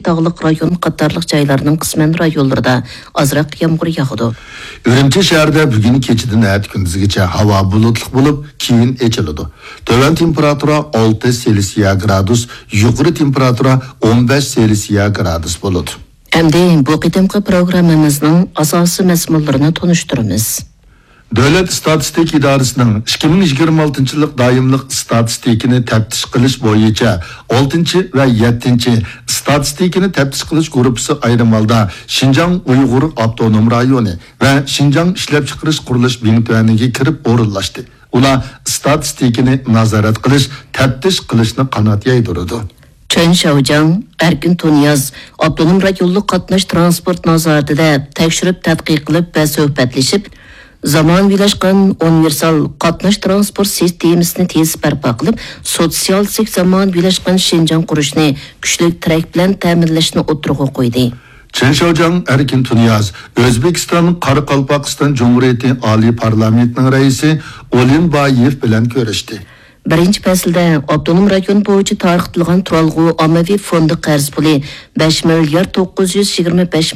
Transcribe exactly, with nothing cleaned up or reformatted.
تاغلىق رايون قاتارلىق جايلارنىڭ قىسمەن رايونلىرىدا ئازراق يامغۇر ياغىدۇ. ئۈرۈمچى شەھىرىدە بۈگۈن كېچىدىن ئەتە كۈندۈزگىچە ھاۋا بۇلۇتلۇق بولۇپ، كېيىن ئېچىلىدۇ. تۆۋەن تېمپېراتۇرا ئالتە سېلسىيە گرادۇس، يۇقىرى تېمپېراتۇرا ئون بەش سېلسىيە گرادۇس بولىدۇ. ئەمدى بۇ قېتىمقى پروگراممىمىزنىڭ ئاساسىي مەزمۇنلىرىنى تونۇشتۇرىمىز. دۆلەت ئىستاتىستىكا ئىدارىسىنىڭ ئىككى مىڭ يىگىرمە ئالتىنچى يىللىق دائىملىق ئىستاتىستىكىنى تەپتىش قىلىش بويىچە ئالتىنچى ۋە يەتتىنچى ئىستاتىستىكىنى تەپتىش قىلىش گۇرۇپپىسى ئايرىم ھالدا شىنجاڭ ئۇيغۇر ئاپتونوم رايونى ۋە شىنجاڭ ئىشلەپچىقىرىش قۇرۇلۇش بىڭتۈەنىگە كىرىپ ئورۇنلاشتى. ئۇلار ئىستاتىستىكىنى نازارەت قىلىش، تەپتىش قىلىشنى قانات يايدۇرىدۇ. چېن شياۋجياڭ، ئەركىن تۇنىياز ئاپتونوم رايونلۇق قاتناش تىرانسپورت نازارىتىدە تەكشۈرۈپ تەتقىق قىلىپ ۋە سۆھبەتلىشىپ، زامانىۋىلاشقان ئۇنىۋېرسال قاتناش تىرانسپورت سىستېمىسىنى تېز بەرپا قىلىپ، سوتسىيالىستىك زامانىۋىلاشقان شىنجاڭ قۇرۇشنى كۈچلۈك تىرەك بىلەن تەمىنلەشنى ئوتتۇرىغا قويدى. چېن شياۋجياڭ ئەركىن تۇنىياز ئۆزبېكىستان قارىقالپاقىستان جۇمھۇرىيىتى ئالىي پارلامېنتىنىڭ رەئىسى ئولىنبايېۋ بىلەن كۆرۈشتى. بىرىنچى پەسىلدە ئاپتونوم رايون بويىچە تارقىتىلغان تۇرالغۇ ئاممىۋى فوندى قەرز پۇلى بەش مىليارد توققۇز يۈز يىگىرمە بەش